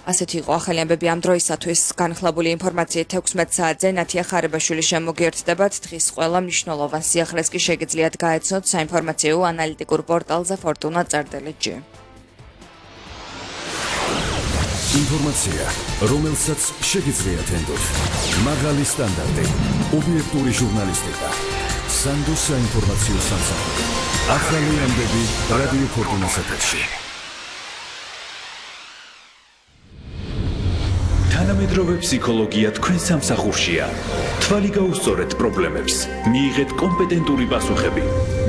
ასეთი იყო ახალი ამბები ამ დროისათვის. განხლებული ინფორმაციით 16 საათზე ნათია ხარებაშვილი შემოგიერთდებათ. დღის ყველა მნიშვნელოვან სიახლეს კი შეგიძლიათ გაეცნოთ საინფორმაციო ანალიტიკურ პორტალზე fortuna.rdl-ში. ინფორმაცია, რომელსაც შეგიძლიათ ენდოთ. მაღალი სტანდარტი, ობიექტური ჟურნალისტიკა. სანდოს საინფორმაციო სამსახური. ახალი ამბები რადიო ფორტუნას ეთერში. თანამედროვე ფსიქოლოგია თქვენ სამსახურშია. თვალი გაუსწორეთ პრობლემებს, მიიღეთ კომპეტენტური პასუხები,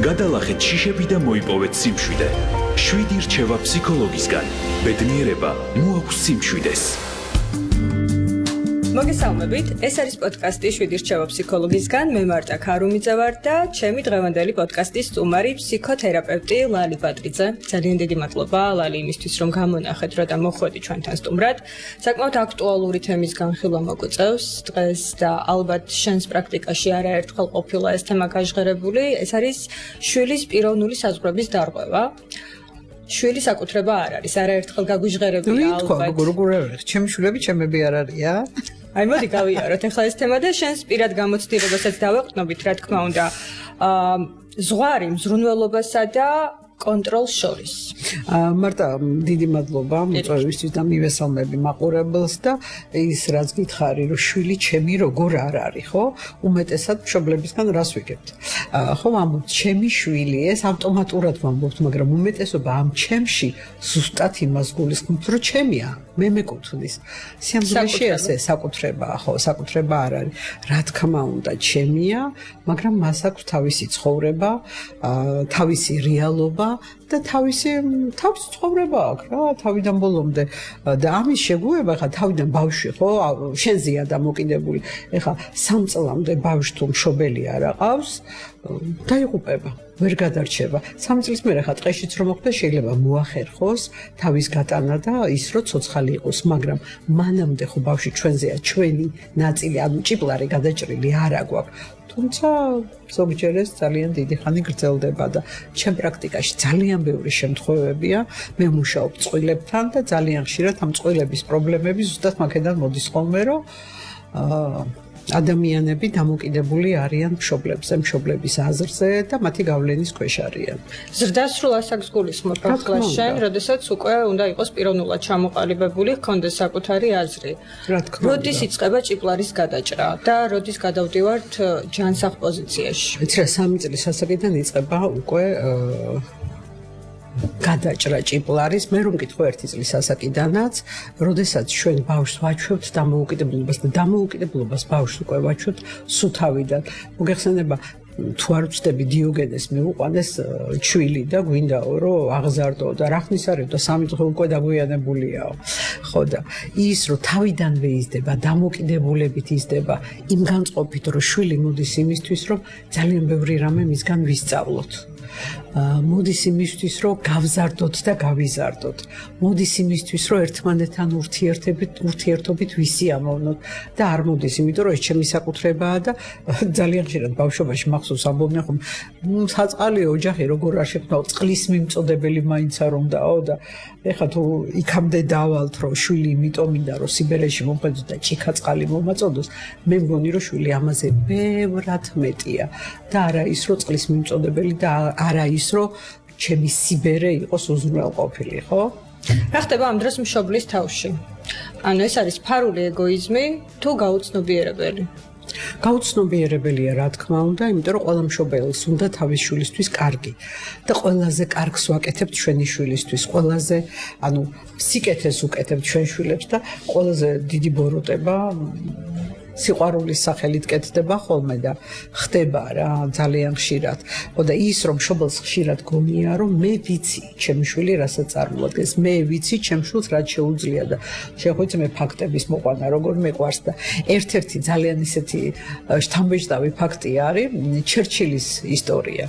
გადალახეთ შიშები და მოიპოვეთ სიმშვიდე. 7 რჩევა ფსიქოლოგისგან. ბედნიერება მოაქვს სიმშვიდეს. მოგესალმებით, ეს არის პოდკასტი 7 რჩევა ფსიქოლოგისგან. მე მარტა ქარუმიძე ვარ და ჩემი დღევანდელი პოდკასტის სტუმარი ფსიქოთერაპევტი ლალი ბატრიძე. ძალიან დიდი მადლობა ლალი იმისთვის რომ გამონახეთ და მოხვედი ჩვენთან სტუმრად. საკმაოდ აქტუალური თემის განხილვა მოგვიწევს დღეს და ალბათ შენს პრაქტიკაში არაერთხელ ყოფილა ეს თემა გაჟღერებული. ეს არის შვილის პიროვნული საზღვრების დარღვევა. შვილი საკუთრება არ არის, არაერთხელ გაგვიჟღერებია ალბათ. როგორ ჩემი შვილები ჩემები არ არიან? აი მოდი გავიაროთ ახლა ეს თემა და შენს პირად გამოცდილებასაც დავეყრდნობით, რა თქმა უნდა. ზღვარი მზრუნველობასა და კონტროლს შორის. მარტა დიდი მადლობა მოწვევისთვის და მივესალმები მაყურებელს და ის რაც გითხარი რომ შვილი ჩემი როგორ არ არის, ხო? უმეტესად მშობლებისგან რას ვიგებთ? ხო, ამბობთ ჩემი შვილი, ეს ავტომატურად ვამბობთ, მაგრამ უმეტესობა ამ ჩემში ზუსტად იმას გულისხმობს, რომ ჩემია, მე მეკუთვნის. სიამოვნებაში ასე საკუთრებაა, ხო, საკუთრება არ არის. რა თქმა უნდა, ჩემია, მაგრამ მას აქვს თავისი ცხოვრება, თავისი რეალობა და თავისი ცხოვრება აქვს რა თავიდან ბოლომდე და ამის შეგუება ხა თავიდან ბავშვი ხო შენზეა დამოკიდებული ეხა 3 წლამდე ბავშვი თუ მშობელი არ აყავს დაიღუპება ვერ გადარჩება 3 წლის მერე ხა ტყეშიც რომ მოხდა შეიძლება მოახერხოს თავის გატანა და ის რო ცოცხალი იყოს მაგრამ მანამდე ხო ბავშვი ჩვენზეა ჩვენი ნაწილი ანუ ჭიპლარი გადაჭრილი არ აქვს თუმცა ზოგჯერ ეს ძალიან დიდი ხანი გრძელდება და ჩემ პრაქტიკაში ძალიან ბევრი შემთხვევებია მე მუშაობ წყვილებთან და ძალიან ხშირად ამ წყვილების პრობლემები ზუსტად მაგედან მოდის ხოლმე რომ ადამიანები დამოკიდებული არიან მშობლებზე, მშობლების აზრზე და მათი გავლენის ქვეშ არიან. ზრდასრულ ასაკს გულისხმობ ახლა შენ, როდესაც უკვე უნდა იყოს პიროვნულად ჩამოყალიბებული, ჰქონდეს საკუთარი აზრი. რა თქმა უნდა. როდის იწყება ჭიპლარის გადაჭრა და როდის გადავდივართ ჯანსაღ პოზიციაში? ვიცი რა 3 წლის ასაკიდან იწყება უკვე გადაჭრა ჭიპლარის მე რომ მკითხო 1 წლის ასაკიდანაც, როდესაც ჩვენ ბავშვს ვაჩვევთ დამოუკიდებლობას და დამოუკიდებლობას ბავშვს უკვე ვაჩვევთ სუთავიდან. მოგეხსენება თუ არ ვწდები დიოგენეს მიუყვანეს ჩვილი და გვინდაო რომ აღზარდო და რა ხნის არის და 3 დღე უკვე დაგვიანებულიაო. ხო და ის რომ თავიდანვე იზრდება, დამოკიდებულებით იზრდება, იმ განწყობით რომ შვილი მოდის იმისთვის რომ ძალიან ბევრი რამე მისგან ვისწავლოთ. მოდის იმისთვის რომ გავზარდოთ და გავიზარდოთ. მოდის იმისთვის რომ ერთმანეთთან ურთიერთობით ვისიამოვნოთ და არ მოდის იმიტომ რომ ეს ჩემი საკუთრებაა და ძალიან ხშირად ბავშვობაში მახსოვს ამბობდნენ ხომ საწყალი ოჯახი როგორ არ შექმნა წყლის მიმწოდებელი მაინც არ უნდაო და ეხლა თუ იქამდე დავალთ რომ შვილი იმიტომ მინდა რომ სიბერეში მომხედოს და ჭიქაწყალი მომაწოდოს მე მგონი რომ შვილი ამაზე ბევრად მეტია და არა ის რომ წყლის მიმწოდებელი და არა ის რომ ჩემი სიბერე იყოს უზრუნველყოფილი, ხო? რა ხდება ამ დროს მშობლის თავში? ანუ ეს არის ფარული ეგოიზმი თუ გაუცნობიერებელი? გაუცნობიერებელია რა თქმა უნდა, იმიტომ რომ ყველა მშობელს უნდა თავის შვილისთვის კარგი და ყველაზე კარგს ვაკეთებთ ჩვენი შვილისთვის, ყველაზე ანუ სიკეთეს უკეთებთ ჩვენ შვილებს და ყველაზე დიდი ბოროტება სიყვარულის სახელით კეთდება ხოლმე და ხდება რა ძალიან ხშირად. ხო და ის რომ მშობელს ხშირად გონია რომ მე ვიცი ჩემი შვილი რასაც წარმოადგენს, მე ვიცი ჩემ შვილს რაც შეუძლია და შეხვეცე მე ფაქტების მოყვანა როგორ მეყვარს და ერთ-ერთი ძალიან ისეთი შთამბეჭდავი ფაქტი არის ჩერჩილის ისტორია.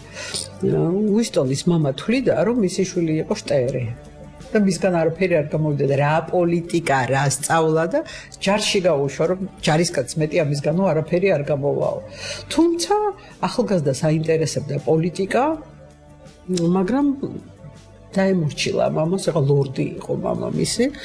უისტონის მამა თვლიდა რომ მისი შვილი იყო შტერი. და მისგან არაფერი არ გამოვიდა და რა პოლიტიკა, რა სწავლა და ჯარში გაუშვა, რომ ჯარისკაც მეტი ამისგანო არაფერი არ გამოვაო. თუმცა ახალგაზრდას აინტერესებდა პოლიტიკა, მაგრამ დაემორჩილა მამას, ეხლა ლორდი იყო მამამისი.